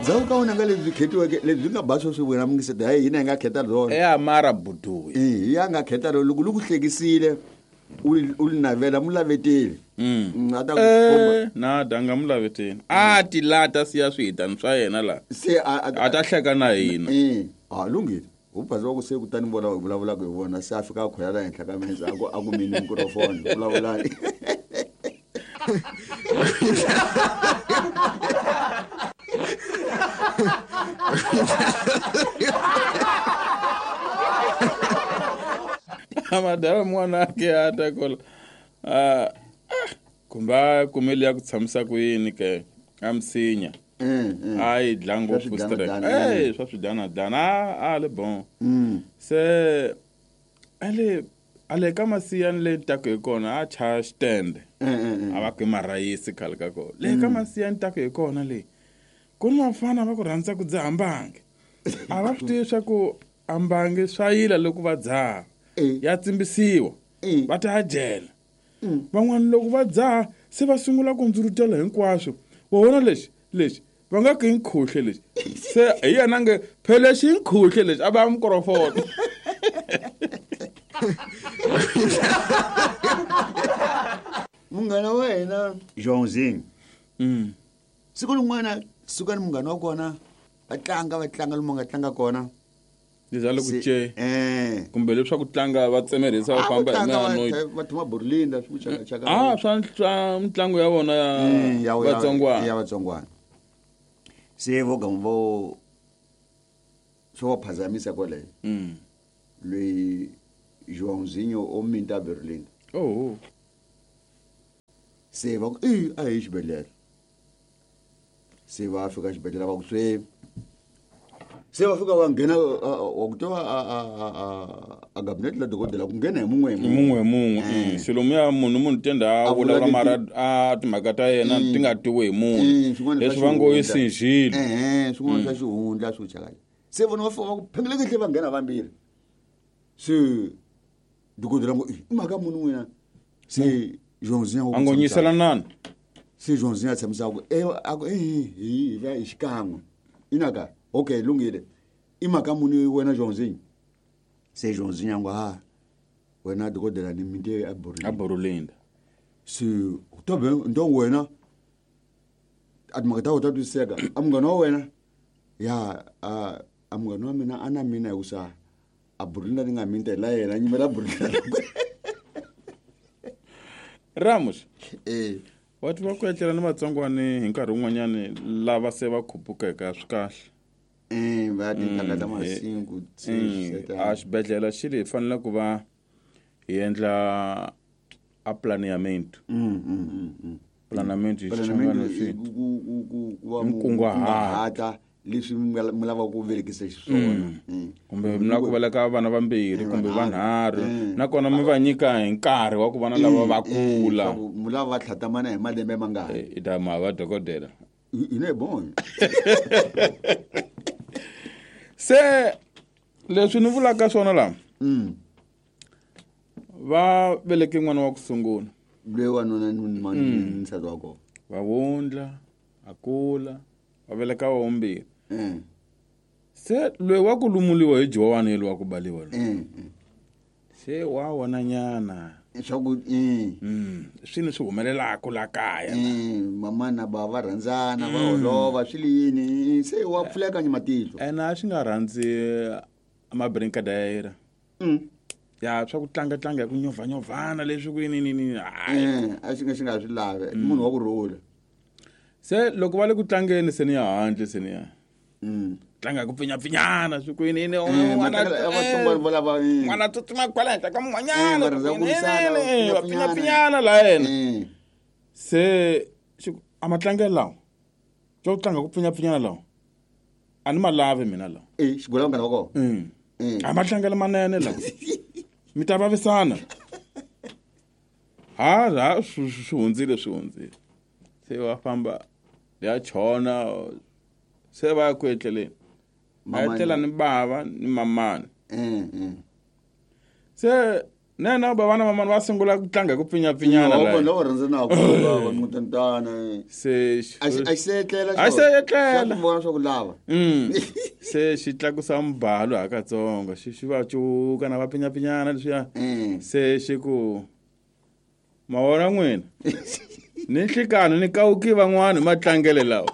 Ndzhaku ka wena nga lebyi khetiweke lebyi nga ba sweswi wena mungiseti hayi hina hi nga kheta byona. Ya mara buduya. Eh, hi ya nga kheta rona loko li ku hlekisile u li- u li navela mu laveteli. A ta ku komba. Eh, na danga mu laveteni a ti lata siya swihitani swa yena la Se a a a ta hleka na hina. Eh, a lunghile. U bazi wa ku se kutani vona hi vulavulaka hi vona se a fika a khwela la henhla ka mense a ku a ku mini mikrofoni vulavulani. Madala n'wana ake a ta kola ah, kumbe a kumele ya ku tshamisa ku yini ke a misinya a yi dla ngopfu Swa stress swidanadana, eh swa swidanadana a a le bon se ale ale ka masiyani le taku hi kona a chaya xitende a va ku i marhayisi khale ka kona le ka masiyani taku hi kona le ku ni vafana va ku rhandza ku dzaha mbangi a va swi tivi swa ku a mbangi swa yila loko va dzaha Eh. ya tsimbisiwa Eh. va ta ya jela van'wana loko va dzaha se va sungula ku ndzurutela hinkwaswo wa vona lexi lexi va nga ku i nkhuhle lexi se hi yena nge phela lexi i nkhuhle lexi a va mikrofoni. Munghana wa hina Johnzing. Siku rin'wana suka ni munghana wa kona va tlanga va tlanga lomu va nga tlanga kona. Leswi a le ku Se- ce Eh. kumbe leswaku tlanga va tsemerhisa va A ku famba hi tlanga va- miano va thuma Burlinda swi ku chaka chaka. a swa swa mitlangu ya vona ya vatsongwana Ya vatsongwana. Se vo gama vo swo va phazamisa kwale. Loyi Joãozinho o minta Berlinda. Oh. Se va ku i a hi xibedhlele. Se va fika xibedhlele va ku se se va fika va nghena wa ku tiva a gabinete la dokodela ku nghena hi mun'we hi mun'we hi mun'we se lomuya munhu munhu tenda a A vula vulavula leti- mara a timhaka ta yena ti nga tiwi hi munhu Swin'wana swa leswi va ngo i xihundla. sinjhile. Ehe, swin'wana swa xihundla swo chakala se vona va fika va ku phengelekehli va nghena vambirhi se dokodela ngo i mhaka muni n'wina se Joãozinho A ngo nyiselanani se Joãozinho a tshamisa ku e a ku e hi hi va hi xikan'we inaka okay lunghile i mhaka muni wena Joãozinho se Joãozinho a ngo ha wena dokodela ni minte a Borlinda a Borlinda se tobe ndo wena a timhaka ta wena ta twisiseka a munghana wa wena ya a a munghana wa mina a na mina hi ku sa a Borlinda ni nga minta hi la yena nyimela Borlinda Ramos eh wa tiva ku etlela ni vatsongwani hi nkarhi wun'wanyani lava se va khupukeke swi kahle eh va tintangha ta masiku a xibedhlele xi ri hi fanele ku va hi endla a planeamento planeamento hi Planeamento Xichangani i swi ku va Nkunguhato. kunguhata leswi mi lavaka ku velekisa xiswona. Kumbe mi lava ku veleka vana vambirhi kumbe vanharhu nakona mi va nyika hi nkarhi wa ku vana lava va kula. Swa ku mi lava va tlhatamana hi malembe mangani. I ta ma va dokodela. Hi ne bon. Se leswi ni vulaka swona laha va veleke n'wana wa ku sungula. Loyi wanuna ni ni nsati wa kona. Va wundla, a kula, va veleka wa vumbirhi. Se loyi wa ku lumuliwa hi Jowani yelo wa ku baliwa loyi. Se wa vona nyana. Swa ku Swi ni swi humelelaka la kaya. Mama na bava va rhandzana, va holova, swi li yini, se wa pfuleka ni matihlo. Ene a swi nga rhandzi mabrinkadayira. Ya swa ku tlanga tlanga hi ku nyovhanyovhana leswi ku yini yini yini. Hayi. A swi nga swi nga swi lavi, munhu wa ku rhula. Se loko va le ku tlangeni se ni ya handle se ni ya. Tlanga hi ku pfinyapfinyana swi ku yini yini, Matlangelo ya vatsongwana vo lava, n'wana tsutsuma kwala henhla ka mun'wanyana, Va rhandza ku ku yini, lwisana, yini, va va pfinyapfinyana la yena. Se xi ku, a matlangelo lawa swa ku tlanga ku pfinyapfinyana lawa a ni ma lavi mina lawa. Xigula munghana wa kona. A matlangelo manene lawa mi ta vavisana. Ha, ha, swi hundzile, swi hundzile. Se va famba ya chona se va ya ku etleleni. Va Mamani. etlela ni bava ni mamani. Se Nene ba vana van'wana va sungula ku tlanga hi ku pfinyapfinyana Wa la. vona lava rhandzanaka va n'witantana. Se xi- A xi a xi se etlela. A xi se etlela. Xa vona swa ku lava. Se xi tlakusa mubalo hakatsongo xi va cuka na va pfinyapfinyana leswiya. Se xi ku ma vona n'wina ni nhlikani ni kawuki van'wani hi matlangele lawa.